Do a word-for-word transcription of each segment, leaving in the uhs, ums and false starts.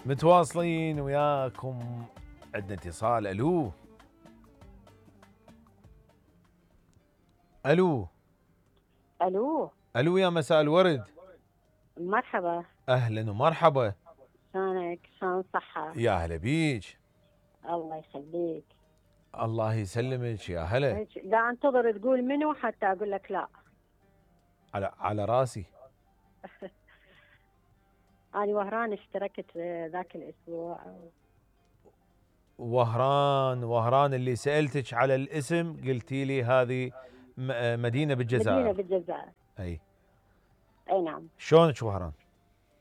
متواصلين وياكم. عندنا اتصال. الو الو الو الو يا مساء الورد. مرحبا. اهلا ومرحبا. شلونك؟ شلون الصحة؟ يا هلا بيج. الله يخليك. الله يسلمك يا هلا. لا انتظر تقول منو حتى اقول لك لا. على على راسي. انا وهران اشتركت ذاك الاسبوع. وهران وهران اللي سألتك على الاسم قلتي لي هذه مدينة بالجزائر. مدينة بالجزائر. اي اي نعم. شلونك وهران؟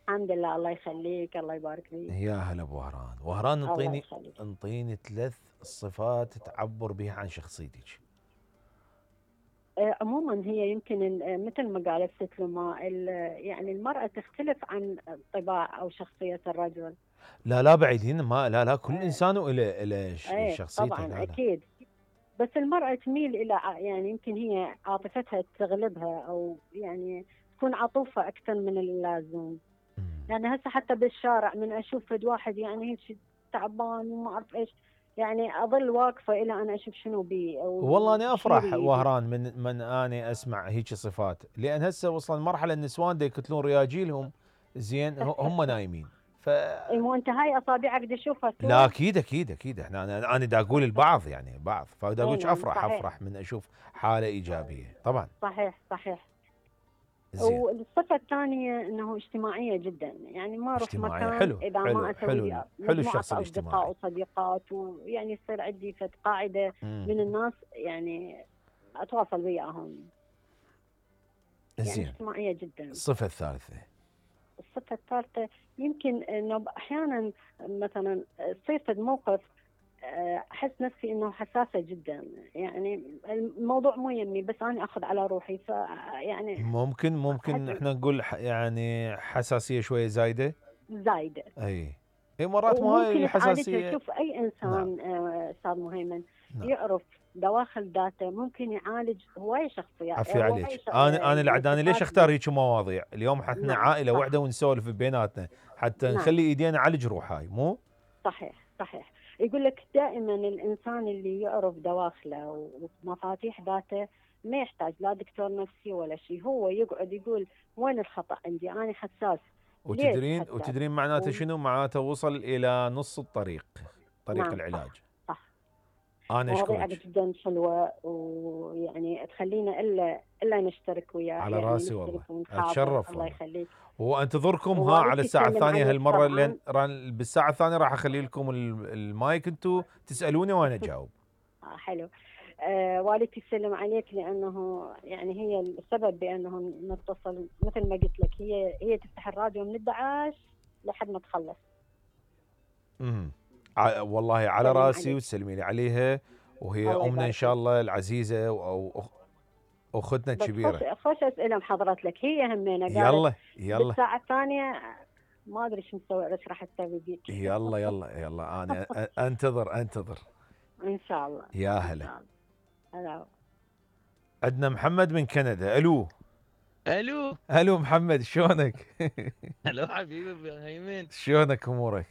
الحمد لله الله يخليك الله يبارك فيك. يا هلا بوهران. وهران انطيني انطيني ثلاث صفات تعبر بها عن شخصيتك. عموما هي يمكن مثل ما قالت ست لما يعني المرأة تختلف عن طباع او شخصية الرجل. لا لا بعيدين ما لا لا كل اه انسان وله له شخصيته. طبعا لا لا. اكيد. بس المرأة تميل الى يعني يمكن هي عاطفتها تغلبها او يعني تكون عطوفة اكثر من اللازم. يعني هسه حتى بالشارع من اشوف فد واحد يعني هيك تعبان وما اعرف ايش يعني اظل واقفه الى انا اشوف شنو بي. والله انا افرح وهران من من اني اسمع هيك صفات، لان هسه وصل مرحله النسوان دا يقتلون رياجيلهم زين هم نايمين. ف اي مو انت هاي اصابعك دا تشوفها. لا اكيد اكيد اكيد احنا انا انا دا اقول البعض يعني بعض، فدا اقول افرح صحيح. افرح من اشوف حاله ايجابيه طبعا. صحيح صحيح. والصفة الثانية انه اجتماعية جدا، يعني ما اروح مكان حلو اذا حلو ما اسوي حلو, حلو الشخص الاجتماعي. اصدقاء وصديقات ويعني يصير عندي فد قاعدة مم. من الناس يعني اتواصل وياهم. زين. يعني اجتماعية جدا. الصفة الثالثة. الصفة الثالثة يمكن انه احيانا مثلا تصير فد موقف احس نفسي انه حساسه جدا، يعني الموضوع مو يمي بس انا اخذ على روحي ف يعني ممكن ممكن احنا نقول يعني حساسيه شويه زايده. زايده اي اي مرات مو هاي الحساسيه. شوف اي انسان نعم. استاذ مهيمن نعم. يعرف دواخل ذاته ممكن يعالج هواي شخصيات. عفي عليك. شخصيات. انا انا العداني ليش اختار هيك مواضيع؟ اليوم احنا نعم. عائله صح. واحده ونسولف بيناتنا حتى نعم. نخلي ايدينا نعالج روحاي مو؟ صحيح صحيح. يقول لك دائما الانسان اللي يعرف دواخله ومفاتيح ذاته ما يحتاج لا دكتور نفسي ولا شيء، هو يقعد يقول وين الخطا عندي انا حساس. وتدرين وتدرين معناته و... شنو؟ معناته وصل الى نص الطريق طريق نعم. العلاج. صح, صح. انا اشكرك جدا حلوه ويعني تخلينا الا الا نشترك وياك على يعني راسي والله اتشرف. الله يخليك. وانتظركم ها على الساعه الثانيه هالمره لين بالساعه الثانيه راح اخلي لكم المايك انتم تسالوني وانا اجاوب. حلو. آه والدتي تسلم عليك لانه يعني هي السبب بانه نتصل مثل ما قلت لك، هي هي تفتح الراديو من احد عشر لحد ما تخلص. امم والله على راسي وتسلمي لي عليها، وهي امنا ان شاء الله العزيزه او اختنا الكبيره. خوش اسئله محضرت لك هي همينه. يلا يلا بالساعه الثانيه ما ادري شو مسوي ايش راح تسوي بيك. يلا يلا يلا انا انتظر انتظر ان شاء الله. يا هلا. هلا. عندنا محمد من كندا. الو الو الو محمد شلونك؟ الو حبيبي هيمن شلونك امورك؟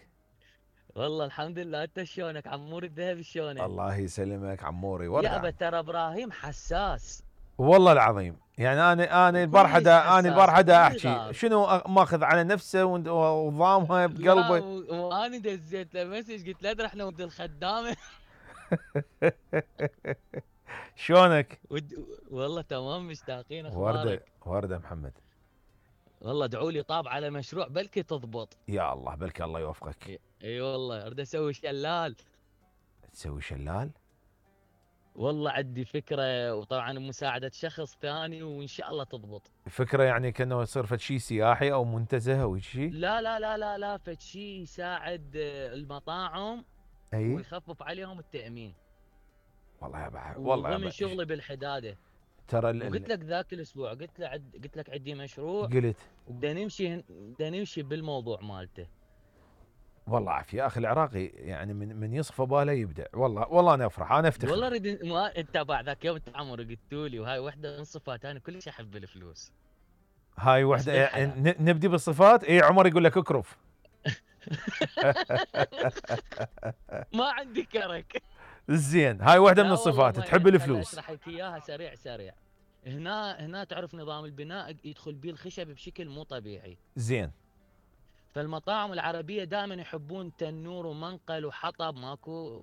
والله الحمد لله، انت شلونك عمور الذهبي شلونك؟ الله يسلمك عموري. ورقة يا ابا ترى ابراهيم حساس والله العظيم، يعني انا انا البارحه انا البارحه احكي شنو ماخذ على نفسه وضامها بقلبه. وانا دزيت له مسج قلت له ادري احنا ولد الخدامه. شلونك؟ والله تمام مشتاقين. اخبارك؟ ورده ورده محمد. والله ادعوا لي طاب على مشروع بلكي تضبط. يا الله بلكي الله يوفقك. اي والله اريد اسوي شلال. تسوي شلال؟ والله عندي فكره وطبعا مساعده شخص ثاني وان شاء الله تضبط. فكره يعني كانه يصير فد شيء سياحي او منتزه او شيء؟ لا لا لا لا لا فد شيء يساعد المطاعم أي؟ ويخفف عليهم التامين. والله يا بحر والله يا من شغلي بالحداده ترى ال... قلت لك ذاك الاسبوع قلت له عد... قلت لك عندي مشروع قلت بدنا نمشي بدنا نمشي بالموضوع مالته. والله عافيه يا اخي العراقي يعني من من يصفى باله يبدع. والله والله انا افرح انا افتخر والله اريد ما انت بعد ذاك يوم انت عمر قلتوا لي وهاي وحده من صفات انا كلش احب الفلوس. هاي وحده يعني نبدي بالصفات. اي عمر يقول لك اكرف. ما عندي كرك. زين، هاي واحده من لا والله الصفات، ما تحب يعني، خل الفلوس. اشرح لك اياها سريع سريع. هنا هنا تعرف نظام البناء يدخل بيه الخشب بشكل مو طبيعي. زين. فالمطاعم العربيه دائما يحبون تنور ومنقل وحطب، ماكو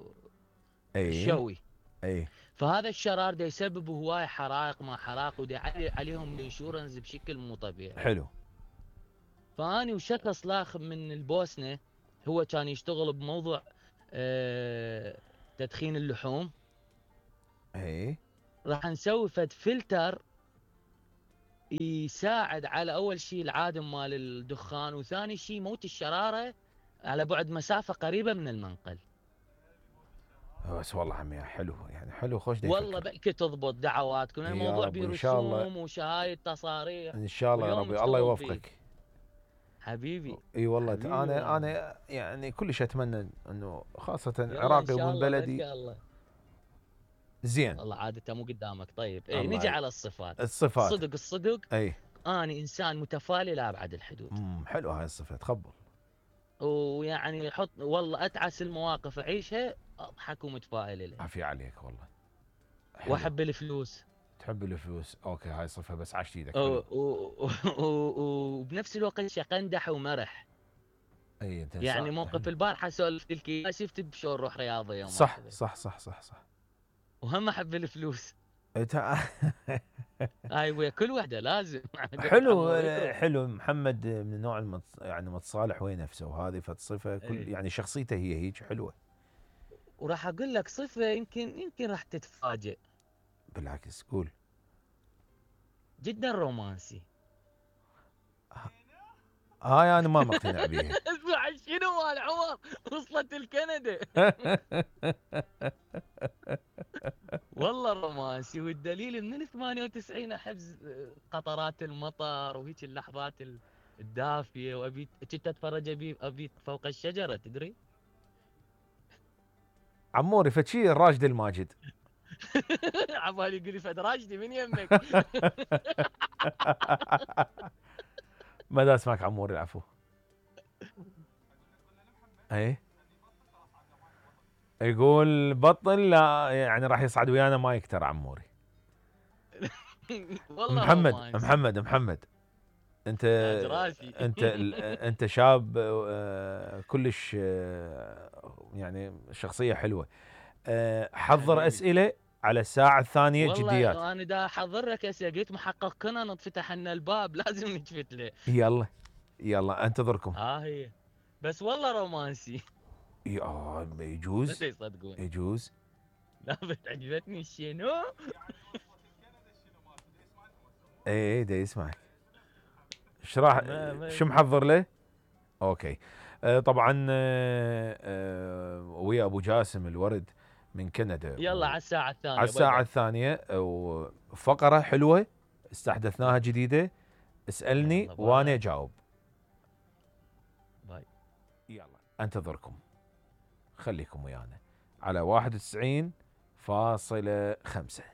اي شوي. اي. فهذا الشرار دا يسبب هواي حرائق ما حرائق، ودا يعلي عليهم الانشورنس بشكل مو طبيعي. حلو. فاني وشخص لاخ من البوسنه، هو كان يشتغل بموضوع آه تدخين اللحوم. اي. راح نسوي فد فلتر يساعد على اول شيء العادم مال الدخان، وثاني شيء موت الشراره على بعد مسافه قريبه من المنقل. بس والله عمي حلو، يعني حلو، خوش دي والله يفكر. بأكي تضبط دعواتكم، يا الموضوع رب إن شاء الله. برسوم وشهايد تصاريح. ان شاء الله يا واليوم ربي، الله نشتغل فيه. يوفقك حبيبي. اي والله. حبيبي انا والله. انا يعني كلش اتمنى انه خاصه يلا عراقي ان شاء ومن الله بلدي. بإذن الله. زين. والله عادته مو قدامك. طيب اي الله نجي ي- على الصفات. الصفات. صدق الصدق اي. اني انسان متفائل لابعد الحدود. امم حلو هاي الصفه، تخبل. ويعني حط والله اتعس المواقف اعيشها اضحك ومتفائل لها. عافية عليك والله. حلو. واحب الفلوس. تحب الفلوس، اوكي هاي صفه بس عشت ايدك. و- و- و- وبنفس الوقت شقندح ومرح. اي انت يعني صح. موقف البارحه سولفت لك اياه، شفت بشلون روح رياضيه وما صح كذا. صح صح صح صح. وهم احب الفلوس. إنت- هاي ويا كل وحده لازم. حلو عمو يكرم. حلو. محمد من النوع المتص... يعني متصالح ويا نفسه، وهذه فتصفه كل إيه. يعني شخصيته هي هيك حلوه. وراح اقول لك صفه يمكن يمكن راح تتفاجئ. بالعكس قول. جدا رومانسي. هاي انا ما مقتنع بيها. اسمع شنو مال عمر، وصلت الكندا. والله رومانسي، والدليل من ال ثمانية وتسعين احب قطرات المطر وهيك اللحظات الدافيه، وابي كنت اتفرج ابي ابي فوق الشجره تدري. عموري فتشي الراشد الماجد. عبالي يقول لي فد راشدي من يمك. ما دا اسمعك عموري العفو. اي يقول بطل لا يعني راح يصعد ويانا ما يكتر عموري. والله محمد رومانسي. محمد محمد انت تاج راسي. انت انت شاب آه، كلش آه، يعني شخصيه حلوه. آه، حضر حبيبي. اسئله على الساعه الثانيه جديات. والله انا دا احضر لك اسئله، قلت محقق كنا نتفتح لنا الباب لازم نجفت له. يلا يلا انتظركم. ها هي. بس والله رومانسي. يا بس يجوز يصدقون. يجوز. لا بس عجبتني شنو. اي اي دا يسمعك. ايش راح ما- ما- شو محضر له؟ اوكي. آه طبعا آه آه ويا ابو جاسم الورد من كندا. يلا على الساعه الثانيه. على الساعه باي الثانيه وفقره حلوه استحدثناها جديده. اسالني يلا باي. وانا اجاوب. باي. يلا انتظركم. خليكم ويانا على واحد وتسعين فاصلة خمسة.